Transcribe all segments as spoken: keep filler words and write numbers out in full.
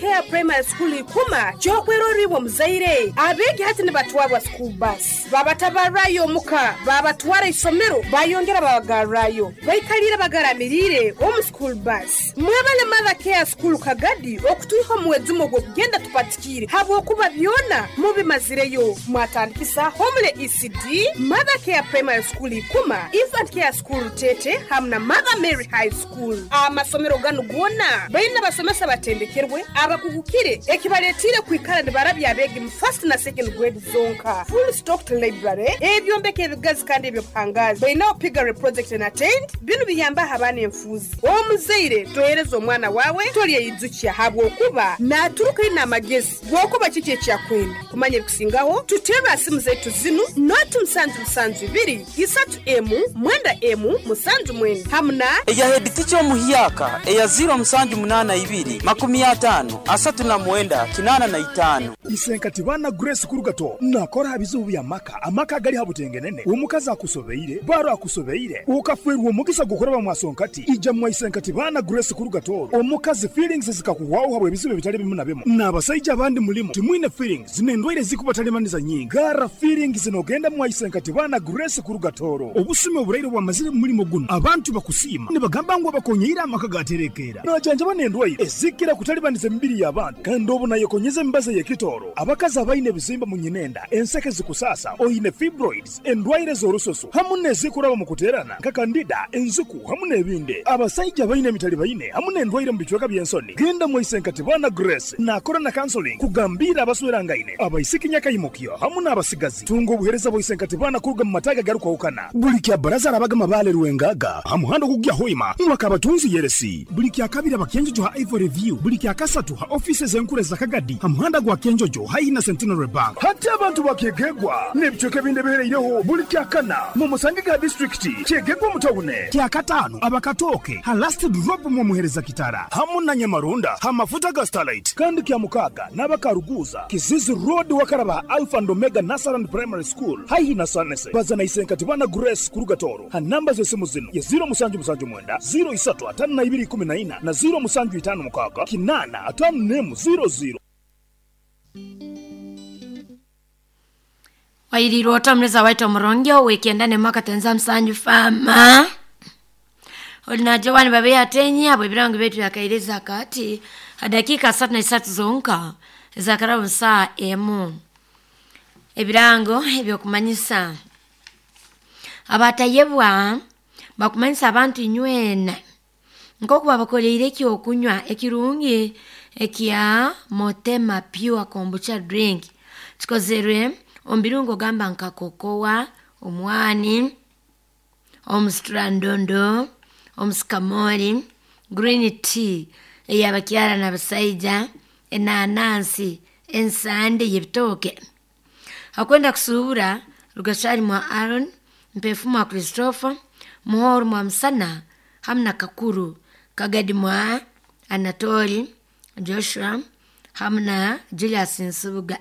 Care Primary School ikuma kyokweroribwa muzaire abeegi hati nibatwarwa school bus babatabarrayo omuka babatwara isomero bayongera babagarrayo baikalire bagaramiriire omu school bus. Mwebale Mother Care School Kagadi okutwiha omuwezumo gw'okugenda tupatikire habwokuba byona mubimazireyo. Mwatandikisa Homele E C D, Mother Care Primary School ikuma, Infant Care School Tete hamwe na Mother Mary High School. Amasomero ganu gona baina basomesa batendekerwe abakugukire ekibaletire kwikara nibarabya abegi mu first na second grade zonka. Full stocked library ebyombeko ebigazi kandi ebyo pangazi baina Piggery project na tent binu biyamba abaana enfuzi. Omuzaire tohereza omwana wawe tolyeyizukia habwokuba naturuka ina amagezi gwokuba kiki ekyakwenda kumanya ebikusingaho. Tutera simu zetu zinu noti musanju musanju ibiri isatu emu mwenda emu musanju mwenda hamna eya head teacher omuhyaka eya zero musanju munana ibiri makumi atano asatu na mwenda kinana na itano. Isenkati bana Grace Kurugato nakora bizubu bya maka amaka gali habutengenene omukazi akusobeire baro akusobeire ukafwerwa omugisa gukora bamwasonkati ija mwa Isenkati bana Grace Kurugato omukazi feelings zikakuwaho habwe bizubu bitali bimu na bimu n'abasajja abandi mulimo timwine feelings zinendwaire zikubatalibaniza nyingi gara feelings zinogenda mwa Isenkati bana Grace Kurugatoro obusime oburaire bwamazire mulimo guno abantu bakusima nibagamba ngo bakonyeira amaka gaterekera najanja banendwaire ezikira kutalibaniza emibiri y'abantu kandi obu nayekonyeza embaza y'ekitoro abakazi abaine ebizimba mu nyinenda enseke zikusasa oine fibroids endwaire z'orusoso hamu n'ezikuraba mu kuterana nka kandida enzuku hamu n'ebindi abasajja baine emitali baine hamu n'endwaire mu bicweka by'ensoni. Genda mu Isenkati bana Grace nakora na counseling kugambira abaswerangaine abaisiki nyakayimukyo hamu n'abasigazi tunga obuhereza bwa Isenkati bana kuruga mu mataga garukwahukana buli kya baraza arabaga mabale ruwengaga hamuhando kugya hoima mwakabatunzi yeresi buli kya kabiri abakenjojo ha Ivory View buli kya kasatu ha offices enkure za Kagadi hamuhanda gwa Kenjojo haina Centenary Bank hati abantu bakegegwa n'ebicweka ebindi bihereireho buli kya kana mu musange ga district kyegegwa mutawune kya katano abakatoke ha last drop mu muhereza kitara hamu na Nyamarunda ha mafuta ga Starlight kandi kya mukaga n'abakaruguza Kizizi Road wakaraba Alpha and Omega Nasaran Primary School haihi na Sanese bazana Isenkati bana Grace Kurugatoro ha namba z'esimu zino ya zero musanju musanju mwenda zero isatu atano na ibiri kumi na ina na zero musanju itano mukaga kinana atano nemu zero zero. Wairirwo otamureza waita omurongyo weekenda mwaka tenza msanju fama olina Joan babe atenya abo ebirango betu yakaireza kati dakika asatu na isatu zonka zakarabu saa emu ebirango ebyokumanyisa abatayebwa bakumanyisa abantu inywena nkokuba bakoleire ekyokunywa ekirungi ekya Motema Pure Kombucha drink kikozerwe ombirungo gamba nka kokoa, omwani, omusitrandondo, omusikamori, green tea eyabakyara n'abasaija, enanansi, ensande y'ebitooke. Akwenda kusuubura Rugashari mwa Aaron, Mpefu mwa Christopher, Muhoro mwa Msana, hamna Kakuru, Kagadi mwa Anatoli, Joshua, hamna Julius Nsubuga.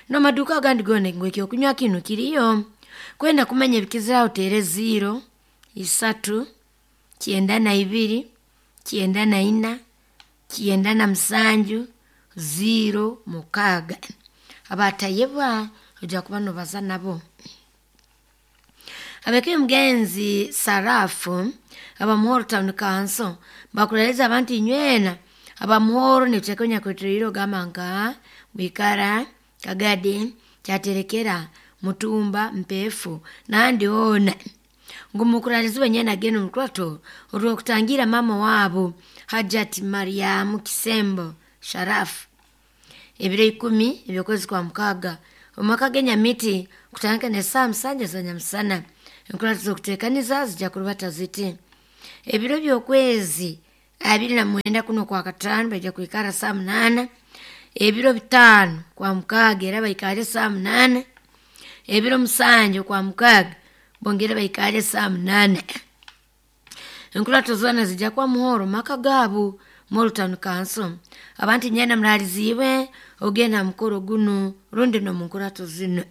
No maduka agandi gone ngwekyo kunywa kinu kiriyo kwenda kumanya ebikizira utere zero isatu kyenda na ibiri kyenda na ina kyenda na musanju zero mukaga abatayebwa ojja kuba nobaza nabo. Abeke mugenzi Sarafu abamuhoro Town Council bakureleza abantu inywena abamuhoro netekonya kwetiriro gamba nka wikara Kagadi kyaterekera Mutumba Mpefu nandi ona ngumukuralizwe nyena geno mukwato olwokutangira mama wabo Hajati Mariamu Kisembo Sharafu ebiro ikumi ebyokwezi kwa mukaga omwaka g'enyamiti kutandika ne saa musanja za nyamusana enkuratizo okuteekaniza zijja kurubata ziti ebiro by'okwezi abiri na mwenda kuno kwa kataano bajja kwikara saa munaana ebiro bitaano kwa mukaga era baikale saa munaana ebiro musanju kwa mukaga bongere baikale saa munaana. Enkurato zoona zijja kwa muhoro maka gaabo Muhoro Town Council abantu nyena muraliziibwe ogenda mukoro guno rundi n'omunkurato zino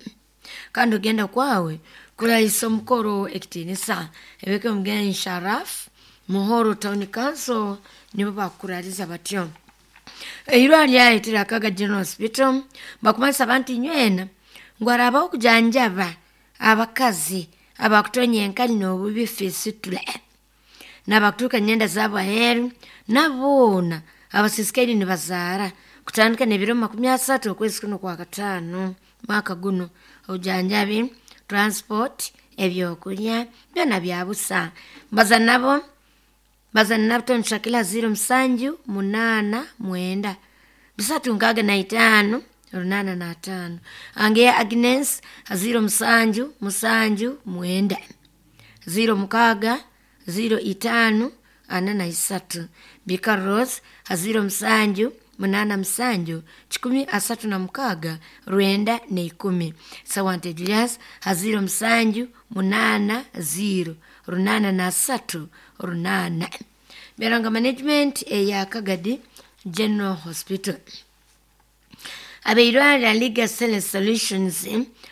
kandi ogenda kwawe kurayisa omukoro ekitiinisa ebeke omugenyi Sharaf Muhoro Town Council nibo bakuraliza batyo. Eirwaliro lyayetera Kaga General Hospital bakumanyisa abantu nywena ngu harabaho okujanjaba abakazi abakutonya enkali n'obubi fisitula n'abakutuuka nyenda zaabo aheeru naboona abasisikaire nibazaara kutandika n'ebiro makumi asatu okwezi kuno kwa kataano mwaka guno. Obujanjabi, transport, ebyokulya byona bya busa. Mbaza nabo bazana nabo Tony Shakila ziro musanju munaana mwenda bisatu nkaaga na itaano runaana na ataano. Angeya Agnes ziro musanju musanju mwenda ziro mukaaga ziro itaano ana na isatu. Bika Rose ziro musanju munaana musanju kikumi asatu na mukaaga rwenda neikumi. Sawante Julius ziro musanju munaana ziro runaana na asatu runaana. Beranga management eya Kagadi General Hospital. Abeirwaliro Legal Cell Solutions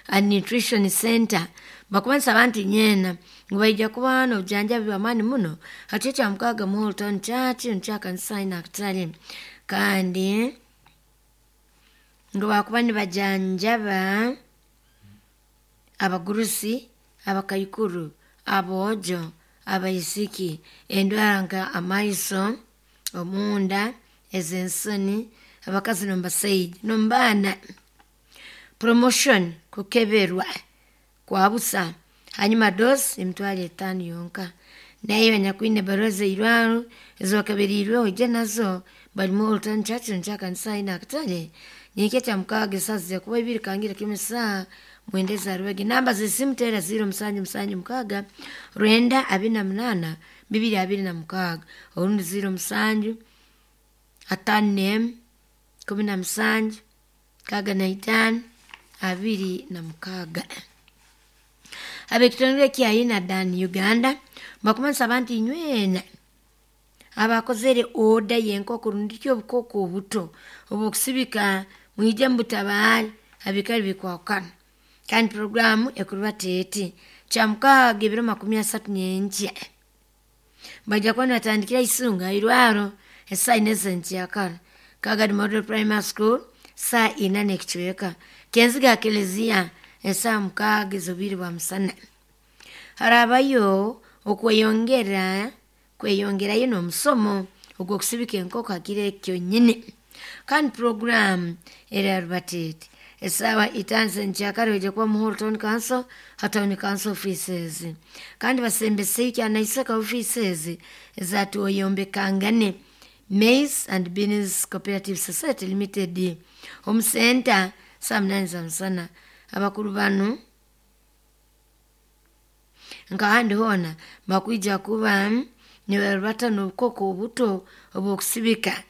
and Nutrition Center bakumanisa abantu nyena ngu baija kuba n'obujanjabi bw'amaani muno hati ekya mukaaga mu Holton Church nkyakanisa nakatale kandi ngu bakuba nibajanjaba abagurusi, abakaikuru, aboojo, abaisiki, endwara nka amaiso, omunda, ez'ensoni, abakazi n'omubasaija n'omubaana. Promotion kukeberwa kwa busa hanyuma dosi emitwaro etaano yonka. Nayo anyakwine ebaruha z'eirwaro ezibakabereirweho ije nazo barimu Holton Church nkyakanisa nakatale nikyo ekya mukaaga esaaha zija kuba ibiri kangira kimu esaaha mwenda eza rubege. Namba z'esimu teera ziro musanju musanju mukaaga rwenda abiri na munaana bibiri abiri na mukaaga orundi ziro musanju ataano n'emu kumi na musanju nkaaga na itaano abiri na mukaaga. Ab'ekitongole kya Inadan Uganda bakumanyisa abantu inywena abakozere oda y'enkoko rundi ki obukoko obuto obw'okusibika mwije mubutabaale abikali bikwahukana. Kandi puroguramu ekuruba teete kya mukaaga ebiro makumi asatu nyenkya baija kuba nibatandikira isunga irwaro esaaha ina ez'enkyakara. Kagadi Model Primary School saa ina n'ekicweka. Kenziga Kelezia esaaha mukaaga ez'obwire bwa musana. Harabayo okweyongera kweyongerayo n'omusomo ogw'okusibika enkoko hakiro eki kyonyini. Kandi puroguramu eraruba teete esaaha itaano z'enkyakara oija kuba mu Holton Council ha Town Council offices. Kandi basembeseyo kyanaiseka offices eza Twoyombekangane Maize and Beans Cooperative Society Limited omu center saa munaani za musana. Abakuru banu nkahandi hoona bakwija kuba nibarubata n'obukoko obuto obw'okusibika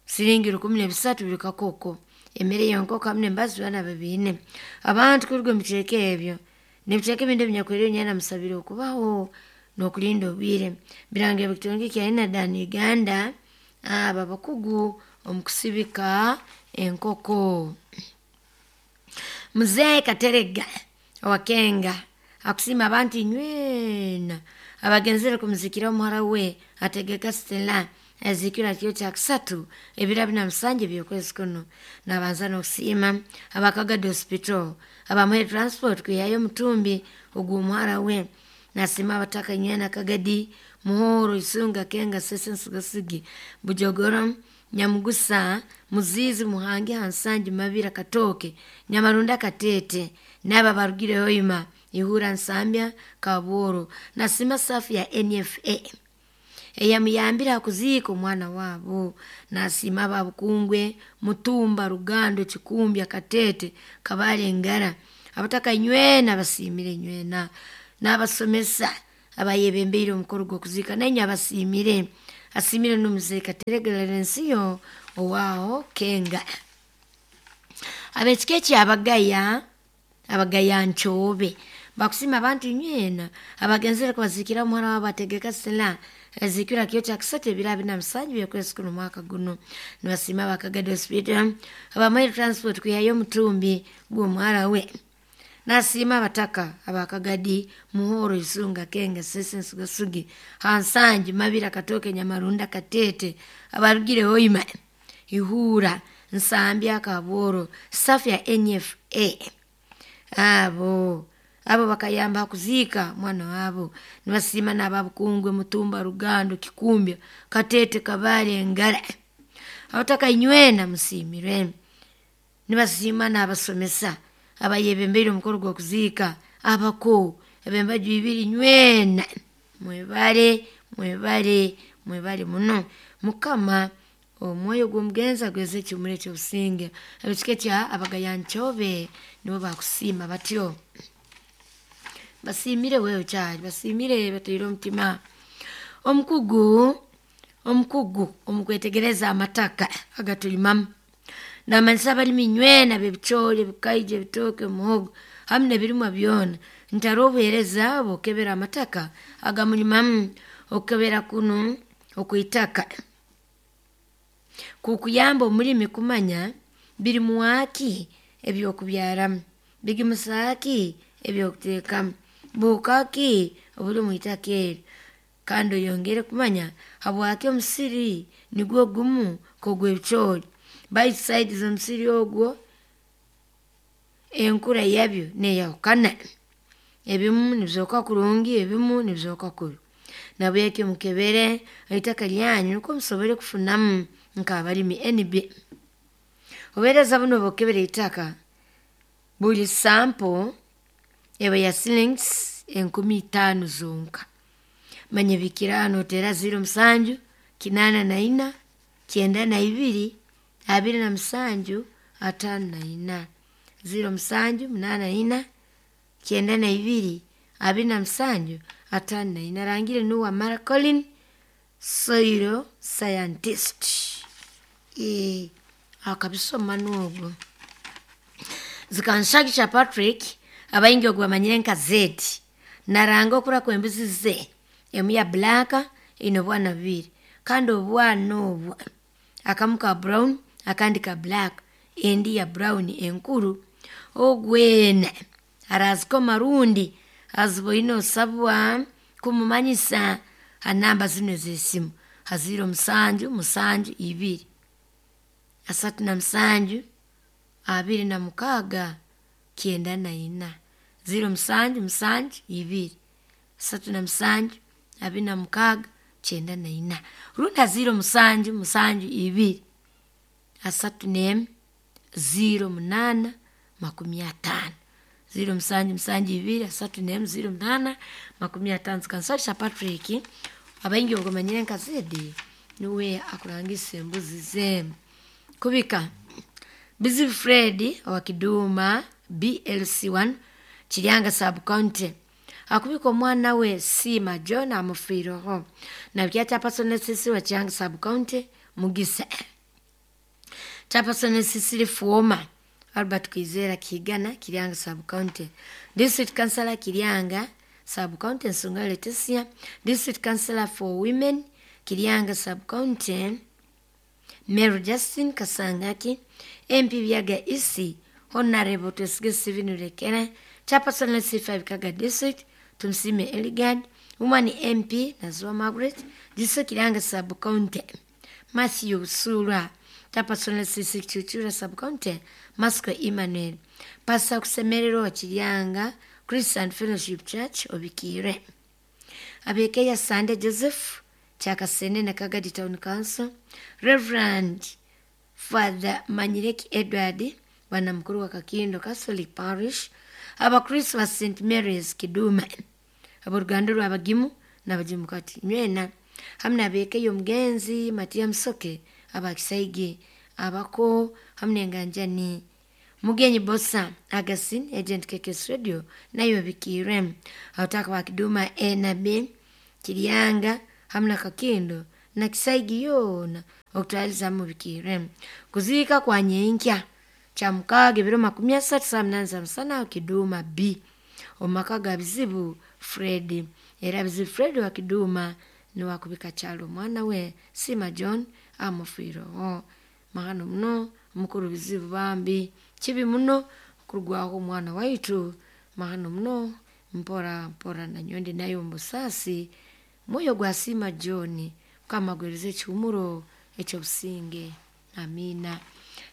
siringi rukumi n'ebisatu buri kakoko. Emere y'enkoko hamu n'embazi byona babiine. Abantu kuruga omu bicweka ebyo n'ebicweka ebindi ebinyakweriire nywena musabire okubaho n'okulinda obwire. Birangirwa ekitongole kya Inadan Uganda abo abakugu omu kusibika enkoko. Muzee Katerega owa Kenga akusiima abantu inywena abagenzere kumuzikira omuhara we ategeka Stella aziikirwe kiro kya kusatu ebiro abiri na musanju eby'okwezi kuno. Nabanza n'okusiima aba Kagadi Hospital abamuhaire transport kwihayo omutumbi ogw'omuhara we. Nasiima abataka nywena Kagadi, Muhoro, Isunga, Kenga, Sese, Nsugasigi, Bujogoro, Nyamugusa, Muzizi, Muhangi, Hansangi, Mabira, Katooke, Nyamarunda, Katete n'abo abarugire Hoima, Ihura, Nsambya, Kabworo. Nasiima safu ya N F A eyamuyambire ha kuziika omwana waabo. Nasiima aba Bukungwe, Mutumba, Rugando, Kikumbya, Katete, Kabale, Ngara. Abataka nywena basiimire nywena n'abasomesa abayebembeire omukoro gw'okuziika nainywe abasiimire. Asiimire n'omuzeeyi Katerega Laurensiyo owaaho Kenga. Ab'ekika eky'Abagaya, Abagaya Nchobe bakusiima abantu nywena abagenzere kubaziikira omuhara waabo ategeka Stella aziikirwe kiro kya kusatu ebiro abiri na musanju by'okwezi kuno mwaka guno. Nibasiima aba Kagadi Hospital abamuhaire transport kwihayo omutumbi gw'omuhara we. Nasiima abataka aba Kagadi, Muhoro, Isunga, Kenga, Sese, Nsugasigi, Hansangi, Mabira, Katooke, Nyamarunda, Katete abarugire Hoima, Ihura Nsambya Kaboro staff ya N F A abo abo bakayamba kuziika mwana wabo. Nibasiima n'ababukungwe Mutumba Rugando Kikumbya Katete Kabale Ngara abataka inywena musiimirwe. Nibasiima n'abasomesa abayebembeire omukoro gw'okuziika abako ebembaju ibiri nywena mwebale mwebale mwebale muno. Mukama omwoyo gw'omugenzi agweze ekihumuro ekyobusinge. Abekika kya Abagayanchobe nibo bakusiima batyo. Basiimire wewe kyali basiimire bataire omutima. Omukugu omukugu omukwetegereza amataka agatulimamu namanyisa abalimi nywena b'ebicoori ebikaija ebitooke omuhogo hamu n'ebirimwa byona nti hariho obuheereza bw'okukebera amataka agamulimamu. Okukebera kunu okw'itaka kukuyamba omulimi kumanya birimwaki ebyokubyaramu, bigimusaaki ebyokuteekamu, buhuka ki obuli omu itaka eri, kandi oyongere kumanya habwaki omusiri nigwo gumu nk'ogw'ebicoori baitu saidi z'omusiri ogwo enkura yabyo neeyahukana. Ebimu nibizooka kurungi ebimu nibizooka kubi. Nabwekyo mukebere eitaka lyanyu nukwo musobole kufunamu nk'abalimi N B. Obuheereza buno bw'okukebera eitaka buli sample eba ya shillings enkumi itaano zonka. Manya bikira noteera ziro musanju kinaana na ina kyenda na ibiri abiri na musanju ataano na ina ziro musanju munaana ina kyenda na ibiri abiri na musanju ataano na ina. Arangire nuwa Mara Colin soil scientist. E, akabisoma n'ogwo. Zikanshagisha Patrick abaingi ogwo bamanyire nka Z naranga okura kw'embuzi ze emu ya black ine obwana bubiri kandi obwana obwo akamu ka brown akandi ka black endi ya brown enkuru. Ogwena arazikoma rundi aziboine osabwa kumumanyisa ha namba zino ez'esimu ha ziro musanju musanju ibiri asatu na musanju abiri na mukaaga kyenda na ina ziro musanju musanju ibiri asatu na musanju abiri na mukaaga kyenda na ina rundi ha ziro musanju musanju ibiri asatu n'emu ziro munaana makumi ataano ziro musanju musanju ibiri asatu n'emu ziro munaana makumi ataano. Zikanshagisha Patrick abaingi obwo nka Zedi niwe akurangisa embuzi ze. Kubika Bizibu Fred owa Kiduma B L C one Kiryanga sub county akubika omwana we Sima John amufiireho nabyo chairperson sisi wa Kiryanga sub county Mugisa chairperson sisi Fuoma Albert Kwizera Kigana Kiryanga sub county district councillor Kiryanga sub county Nsunga Leticia district councillor for women Kiryanga sub county Mary Justin Kasangaki M P Byaga Isi Honorable Twesige Steven Rekere chairperson C five Kaga district Tumsime Eligad woman M P Nazwa Margaret district Kiryanga sub county Matthew Sura chairperson C six Chuchura sub county Masco Emmanuel Pastor Kusemerero wa Kiryanga Christian Fellowship Church Obikire Abekeya Sunday Joseph Chakasene na Kagadi Town Council Reverend Father Manyireki Edward bwana mukuru wa Kakindo Catholic Parish Abakristo ba Saint Mary's Kiduma aboruganda rw'abagimu n'abagimu kati nywena hamwe n'abekeyo omugenzi Matia Musoke abakisaigi abako hamwe n'enganjani Mugenyi Bosa Agasin agent K K S Radio nayo bikirem abataka ba Kiduma A na B Kiryanga hamwe na Kakindo na Kisaigi yona okutwaliza mu bikirem kuziika kwa nyenkya kya mukaaga ebiro makumi asatu saa munana za musana Kiduma B omumaka ga Bizibu Fred era Bizibu Fred wa Kiduma niwakubika kyalo omwana we Sima John amufiireho. Mahano muno mukuru Bizibu bambi kibi muno kurugwaho omwana waitu mahano muno mpora mpora nanyondi nayo omubusaasi mwoyo gwa Sima John Mukama agwereze ekihumuro ekyobusinge. Amina.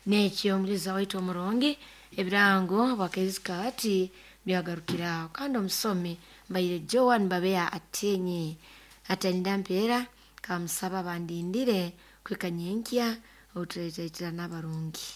Nekyo omuliza waitu omurungi, ebirango bwakezikaati byagarukiraho. Kandi omusomi mbaire Joan Babeya atenye ataninda mpeera, kamusaba bandindire kwika nyenkya otuleetaitira n'abarungi.